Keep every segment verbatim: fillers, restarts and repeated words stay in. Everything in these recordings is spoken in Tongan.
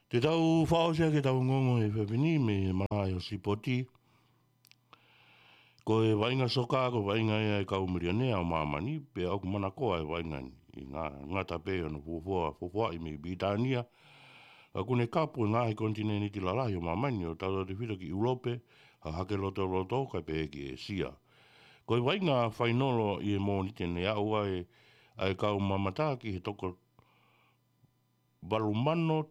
Te tau fakaʻosi ʻaki ʻetau ongoongo he efiafi ni mei he malaʻe ʻo e sipoti. Ko e vaʻinga soka, ko e vaʻinga ia ʻa e kau milionea ʻo māmani, pea ʻoku manakoa e vaʻinga ni. ʻI he nga-, ngata pē hono fuofua, fuofuaʻi mei Pilitānia, ka ʻoku ne kapu e ngaahi konitinēniti lalahi ʻo māmani ʻo tautautefito ki ʻIulope, hahake lotoloto kae pehē ki ʻĒsia. Ko e vaʻinga fainolo ʻi he Mōnite ne aʻu ai ʻa e kau mamata ki he toko valu mano,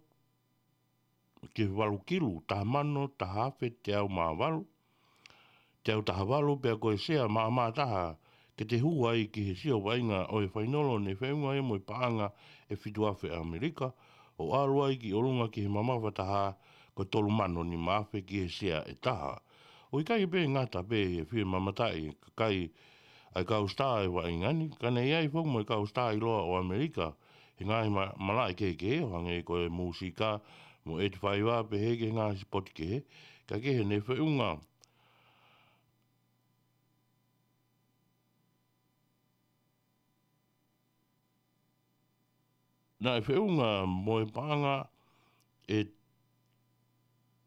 ki he valu kilu, taha mano, taha afe, teau mā valu, teau taha valu, pea ko e sea maʻamaʻa taha ke te hū ai ki he sio vaʻinga ʻo e fainolo ne feʻunga ia mo e paʻanga ʻe fitu afe ʻAmelika, ʻo ʻalu ai ki ʻolunga ki he mamafa taha ko e tolu mano nima afe ki he sea ʻe taha. ʻOku ʻikai pē ngata pē he fie mamataʻi ʻe he kakai ʻa e kau sitā ʻo e vaʻinga ni, ka ne ʻi ai foki mo e kau sitā ʻiloa ʻo ʻAmelika he ngaahi ma-, malaʻe kehekehe ʻo hangē ko e mūsika mo e ʻeti faiva pehē ki he ngaahi sipoti kehe, kae kehe ne feʻunga. Naʻe feʻunga mo e paʻanga ʻe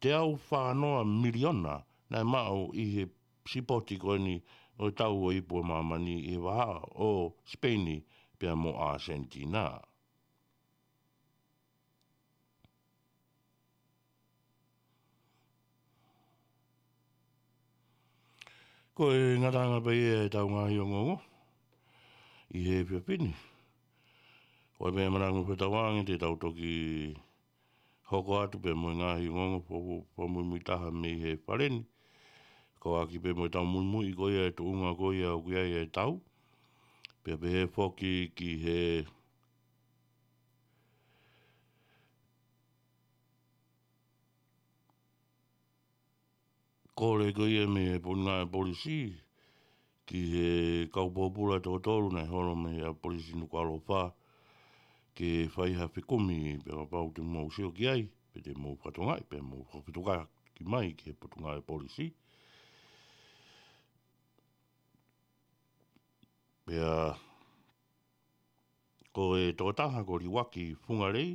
teau fā noa miliona naʻe maʻu ʻi he sipoti ko eni ʻo e tau ʻo e ipu ʻo māmani ʻi he vahaʻa ʻo Sipeini pea mo ʻAsenitina. Ko e ngataʻanga pē ia ʻetau ngaahi ongoongo ʻi he efiafi ni. Ko e meʻa manako mo fetauange te tau toki hoko atu pē mo e ngaahi ongoongo fo-, fo-, fakamuimui taha mei he fale ni. Ko e ʻaki pē mo ʻetau muimui ko ia ʻa e tuʻunga ko ia ʻoku ʻi ai ʻetau. Pea pehē foki ki he kole ko ia mei he Potungāue Polisi ki he kau pōpula ʻe toko tolu naʻe holo mei he ʻapi polisi Nukuʻalofa ke fai ha fekumi pea kapau te mou sio ki ai, pe te mou fakatokangaʻi, pea mou fakafetuʻutaki mai ki he Potungāue Polisi. Pea ko e tokotaha ko Liuaki Fungalei,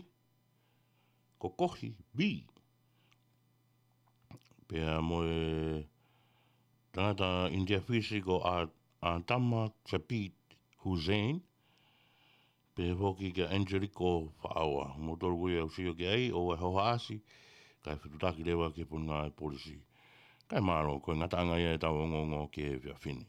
ko Kohi B. Pea mo e tangata ʻInitia Fisi ko ʻA-, ʻAtama Sabit Hussein. Pea foki kia Angelico Faʻaoa. Mo tolu ko ia ʻoku sio ki ai ʻo e hohaʻasi, kae fetuʻutaki leva ki he Potungāue Polisi. Kae mālō, ko e ngataʻanga ia ʻetau ongoongo ki he efiafi ni.